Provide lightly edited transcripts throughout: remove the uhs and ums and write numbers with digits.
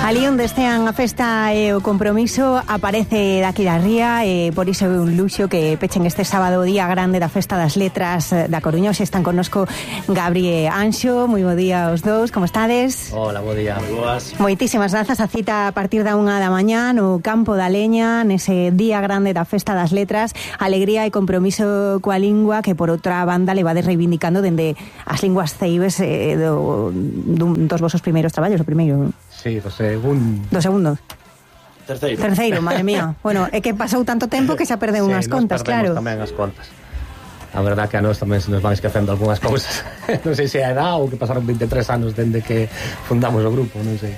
Ali onde estean a festa e o compromiso aparece daqui da ría e por iso é un luxo que pechen este sábado día grande da Festa das Letras da Coruña. Hoxe están connosco Gabri e Anxo. Moi bo día aos dous, como estades? Hola, bo día. Moi boas. Moitísimas grazas, a cita a partir da 1 da mañá no Campo da Leña, nese día grande da Festa das Letras. Alegría e compromiso coa lingua que por outra banda levades reivindicando dende as linguas ceibes dos vosos primeiros traballos, o primeiro. Sí, do segundo. Do segundo. Terceiro, madre mía. Bueno, é que pasou tanto tempo que xa perdeu unhas contas, claro. Tamén as contas. A verdad que a nós tamén se nos van esquecendo algunhas cousas. Non sei se é a edad ou que pasaron 23 anos dende que fundamos o grupo, non sei.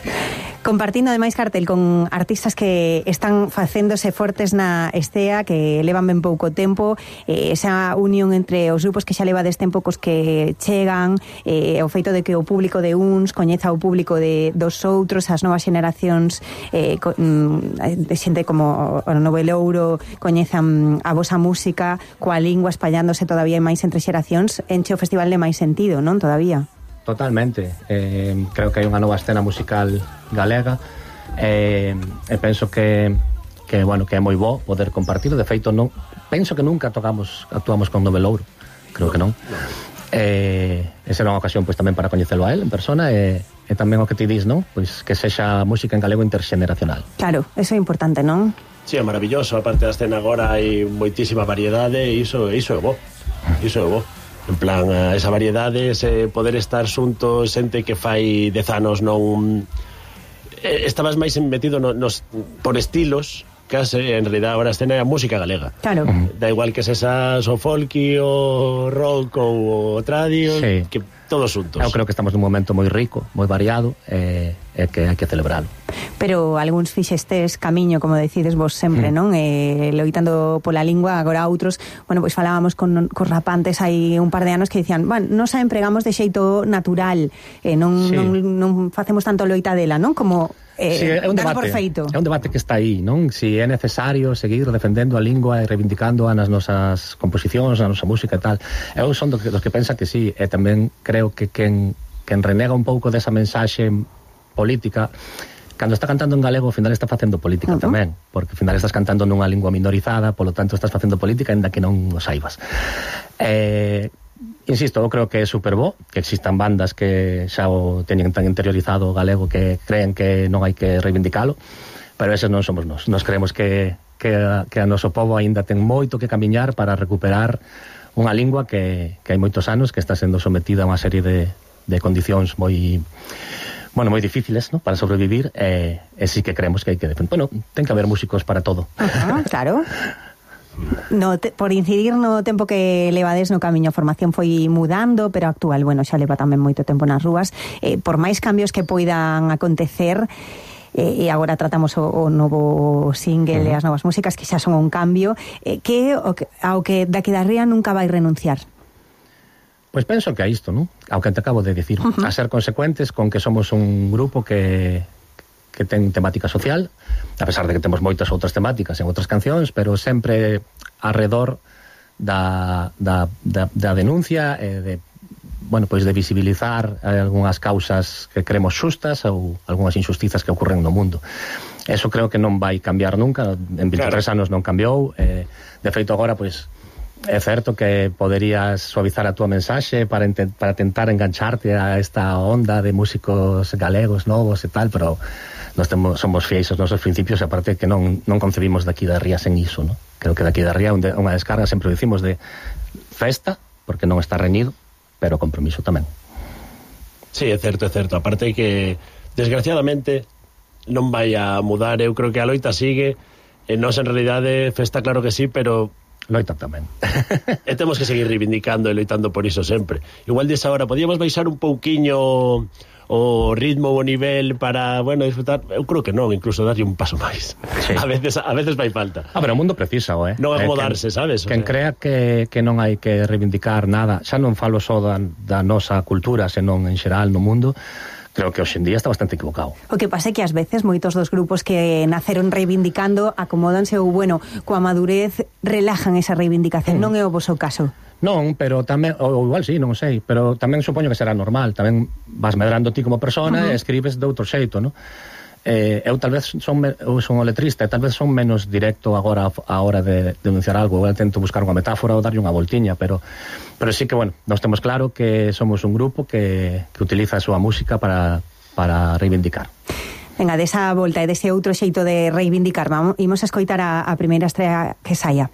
Compartindo ademais cartel con artistas que están facéndose fortes na estea, que levan ben pouco tempo, esa unión entre os grupos que xa levades tempo cos que chegan, o feito de que o público de uns coñeza o público dos outros, as novas xeracións, de xente como o Novelouro coñezan a vosa música, coa lingua espallándose todavía máis entre xeracións, enche o festival de máis sentido, non? Todavía. Totalmente. Creo que hai unha nova escena musical galega e penso que é moi bo poder compartir. De feito, non penso que nunca actuamos con Novelouro. Creo que non. Esa era unha ocasión pois tamén para coñecelo a él en persona e tamén o que ti dis, non? Pois que sexa música en galego interxeneracional. Claro, eso é importante, non? Sí, é maravilloso. Aparte da escena agora hai moitísima variedade e iso é bo. Iso é bo. En plan, esa variedade, ese poder estar xuntos, xente que fai 10 anos non... estabas máis metido por estilos, case, en realidad agora a escena é a música galega. Claro. Da igual que sesas o folky, o rock ou o tradio, sí. Que todos xuntos. Eu creo que estamos nun momento moi rico, moi variado, e que hai que celebralo. Pero algúns fixestes camiño, como decides vos sempre, non? Loitando pola lingua, agora outros, bueno, pois falábamos cos rapantes hai un par de anos que dicían, nos a empregamos de xeito natural, non facemos tanto loita dela, non? Como sí, é un debate, por feito. É un debate que está aí, non? Si é necesario seguir defendendo a lingua e reivindicando nas nosas composicións, na nosa música e tal. Eu son dos que pensa que sí, e tamén creo que quen renega un pouco desa mensaxe política, cando está cantando en galego, ao final está facendo política tamén, porque ao final estás cantando nunha lingua minorizada, polo tanto estás facendo política aínda que non o saibas. Insisto, eu creo que é super bo que existan bandas que xa o teñen tan interiorizado o galego que creen que non hai que reivindicalo, pero eses non somos nós. Nós creemos que a noso povo aínda ten moito que camiñar para recuperar unha lingua que hai moitos anos que está sendo sometida a unha serie de condicións moi difíciles, ¿no? Para sobrevivir, e sí que creemos que hai que defender. Bueno, ten que haber músicos para todo. Claro. Por incidir no tempo que levades no camiño, a formación foi mudando, pero actual, xa leva tamén moito tempo nas rúas. Por máis cambios que poidan acontecer, e agora tratamos o novo single e as novas músicas que xa son un cambio, que ao que daqui da ría nunca vai renunciar. Pois penso que a isto, non? Ao que te acabo de dicir, a ser consecuentes con que somos un grupo que ten temática social, a pesar de que temos moitas outras temáticas en outras cancións, pero sempre arredor da denuncia e de visibilizar algunhas causas que creemos xustas ou algunhas injustizas que ocurren no mundo. Eso creo que non vai cambiar nunca, en 23 anos non cambiou, de feito agora, é certo que poderías suavizar a túa mensaxe para tentar engancharte a esta onda de músicos galegos novos e tal, pero nós somos fiéis aos nosos principios, e aparte que non concebimos daqui da ría sen iso, non? Creo que daqui da ría unha descarga, sempre dicimos, de festa, porque non está reñido, pero compromiso tamén. Sí, é certo. Aparte que, desgraciadamente, non vai a mudar. Eu creo que a loita sigue, e nós en realidade festa claro que sí, pero loita tamén. E temos que seguir reivindicando e loitando por iso sempre. Igual desa hora, podíamos baixar un pouquiño o ritmo, o nivel para, disfrutar. Eu creo que non, incluso darlle un paso máis. Sí. A veces vai falta. Pero o mundo precisa, non acomodarse, sabes? Quen crea que non hai que reivindicar nada, xa non falo só da nosa cultura, senón en xeral no mundo, creo que hoxe en día está bastante equivocado. O que pasa é que ás veces moitos dos grupos que naceron reivindicando acomódanse ou, coa madurez relajan esa reivindicación. Non é o voso caso. Non, pero tamén, ou igual sí, non sei, pero tamén supoño que será normal, tamén vas medrando ti como persona e escribes de outro xeito, non? eu tal vez eu son o letrista e tal vez son menos directo agora a hora de denunciar algo. Eu tento buscar unha metáfora ou darlle unha voltiña, pero sí que, bueno, nós temos claro que somos un grupo que utiliza a súa música para reivindicar. Venga, desa volta e dese outro xeito de reivindicar, imos a escoitar a primeira estrela que saia.